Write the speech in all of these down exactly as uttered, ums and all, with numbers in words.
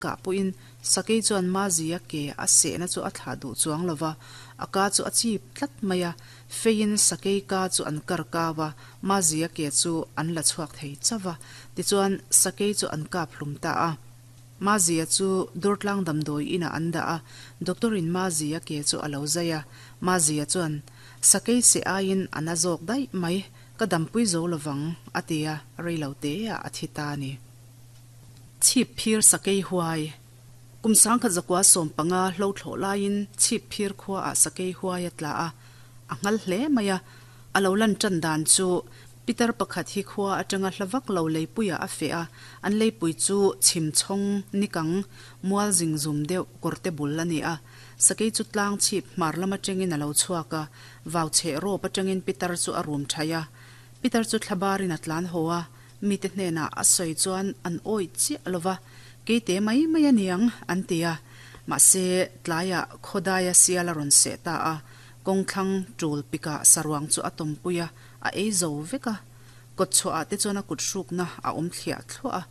Kah pawhin sakei chuan Mazia ke a sehna chu a thlah duh chuang lo va, a ka chu a chip tlat mai a, feiin sakei ka chu an kar kau a, Mazia ke chu an la chhuak thei chauh va, tichuan sakei chu an kap hlum ta a. Mazia chu Durtlang damdawi inah an dah a, doctor in Mazia ke chu a lo zai a, Mazia chuan, Sakei seh aiin a na zawk daih mai, ka dampui zo lovang, a ti a, rei lo teah a thi ta a ni. Chhip phir sakei huai. Kum sangkhat zakua sawm panga hlo thlawh laiin chhip phir khuaah sakei huai a tla a, a nghal hle mai a. A lo lan tan dan chu pitar pakhat hi khua atanga hla vak lo leipuiah a feh a, an leipui chu chhim chhawng nikang mual zing zum deuh kawrte bul a ni a. Sakei chu tlang chhip hmar lam atangin a lo chhuak a, vau chheh rawp atangin pitar chu a rum thaih a. Pitar chu thlabarin a tlan haw a, Mite hnenah a sawi chuan an awih chiah lo va, Keite mai mai a niang, an ti a. Mahse, tlaiah khawdaia sial a rawn seh ta a, kawngthlang tul pikah saruang chu a tawmpui a, a ei zo vek a. Kawtchhuahah te chuan a kut hrukna a awm thliah thluah a,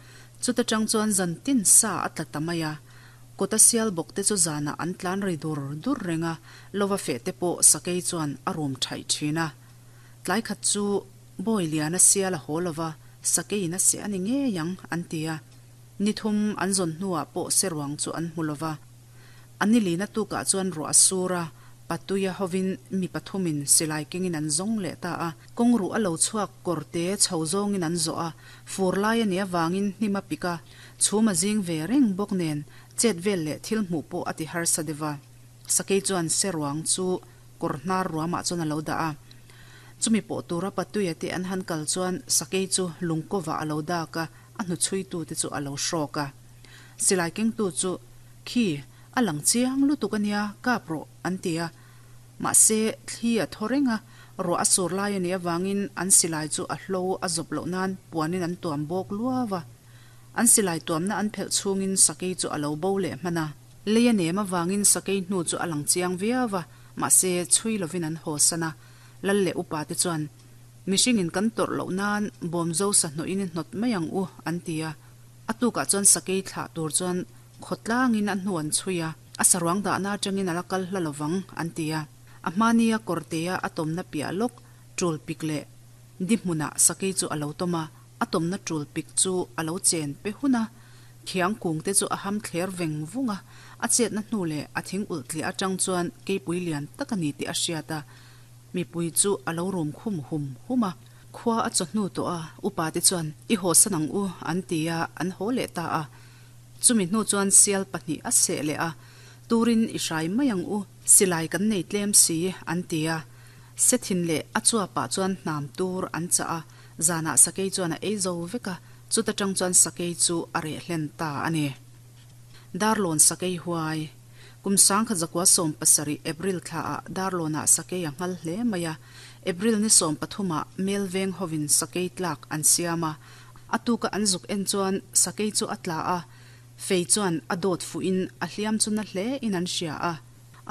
chuta tang chuan zantin sa a tla ta mai a. Kawta sial bawk te chu zanah an tlan ri dur dur reng a, lova feh te pawh sakei chuan a rum thaih thin a. Tlai khat chu Bawi lian a sial a haw lo va, sakeiin a seh a ni ngei ang, an ti a. Ni thum an zawn hnuah pawh seruang chu an hmu lo va. A ni lina tukah chuan ruah a sur a, Patuia hovin mi pathumin silai kengin an zawng leh ta a. Kawng ruh a lo chhuak kawrte chho zawngin an zawh a, fur lai a nih avangin hnim a pik a, chhum a zing ve reng bawk nen chet vel leh thil hmuh pawh a ti harsa deuh a. Sakei chuan seruang chu kawr hnar ruamah chuan a lo dah a. Chumi pawh tura Patuia te an han kal chuan sakei chu lungkawvah a lo dak a, a hnuchhuitute chu a lo hrawk a. Silai kengtu chu, Khi, a lang chiang lutuk a nia, kap rawh, an ti a. Mahse, thli a thaw reng a, ruah a sur lai a nih avangin an silai chu a hlo a zawp loh nan puanin an tuam bawk luau a. An silai tuamna an phelh chhungin sakei chu a lo bo leh hman a. Lei a nem avangin sakei hnu chu a lang chiang viau a, mahse, chhui lovin an haw san a. Lal leh upa te chuan, Mihringin kan tawrh loh nan bawmzo sahnawhin i hnawt mai ang u, an ti a. A tukah chuan sakei thlah tur chuan khawtlangin a hnu an chhui a, a saruang dahna atangin a la kal hla lovang, an ti a. A hmania kawrtea a tawmna piah lawk tul pik leh di hmunah sakei chu a lo tawm a, a tawmna tul pik chu a lo chen pe hun a, khiang kung te chu a ham thler veng vung a, a chetna hnu leh a thing ulh tliah atang chuan keipui lian tak a ni tih a hriat a. Mipui chu a lo rum khum hum hum a. Khua a chawhnu tawh a, upa te chuan, I haw san ang u, an ti a, an haw leh ta a. Chumi hnu chuan sial pahnih a seh leh a, Turin i hrai mai ang u, silai kan nei tlem si, an ti a. Sethin leh a chuapah chuan hnam tur an chah a, zanah sakei chuan a ei zo vek a, chuta tang chuan sakei chu a reh hlen ta a ni. Darlawn sakei huai. Kum sangkhat zakua sawm pasarih April thlaah Darlawnah sakei a nghal hle mai a. April ni sawm pathumah Melveng hovin sakei tlak an siam a. A tuka an zuk en chuan sakei chu a tla a, fei chuan a dawt fuhin a hliam chu na hle in an hria a.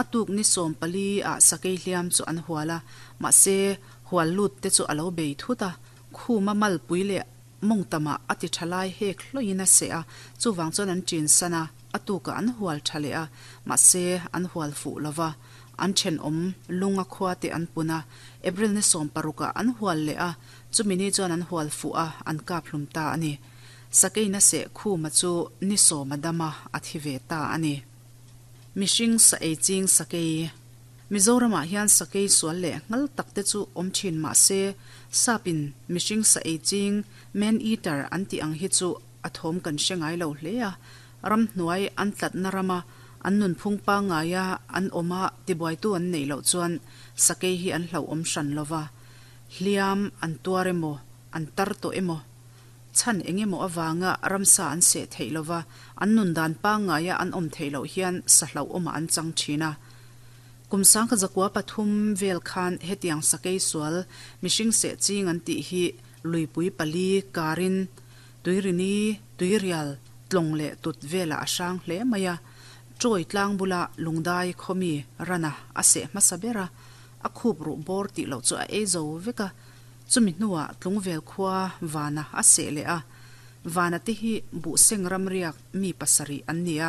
A tuk ni sawm pali ah sakei hliam chu an hual a, mahse hual lut te chu a lo bei thut a. Khuma malpui leh Mawngtamah a ti tha lai hek hlawin a seh a, chuvang chuan an ṭin san a, a tukah an hual tha leh a, mahse an hual fuh lo va, an thenawm lung a khua te an pun a, April ni sawm parukah an hual leh a, chumi ni chuan an hual fuh a, an kap hlum ta a ni. Sakeina seh khuma chu ni sawm a dam a, a thi ve ta a ni. Mihring sa ei ching sakei. Mizoramah hian sakei sual leh nghal tak te chu awm thin mah se, sapin mihring sa ei ching, man eater, an tih ang hi chu a thawm kan hre ngai lo hle a. Ramhnuai an tlatna rama an nunphung pangngaia an awma tibuaitu an neih loh chuan sakei hi an hlauhawm hran lo va. Hliam an tuar emaw, an tar tawh emaw, chhan eng emaw avanga ramsa an seh theih lo va, an nun dan pangngaia an awm theih loh hian sa hlauhawmah an chang thin a. Kum sangkhat zakua pathum vel khan hetiang sakei sual mihring seh ching an tih hi luipui pali karin tuirini, tuirial, tlawng leh tut velah a hrang hle mai a. Trawi tlang bula lungdai khawmi rana a seh hmasa ber a, a khup ruh bawr tih loh chu a ei zo vek a. Chumi hnuah Tlungvel khua vana a seh leh a, Vana te hi buh seng ram riak mi pasarih an ni a.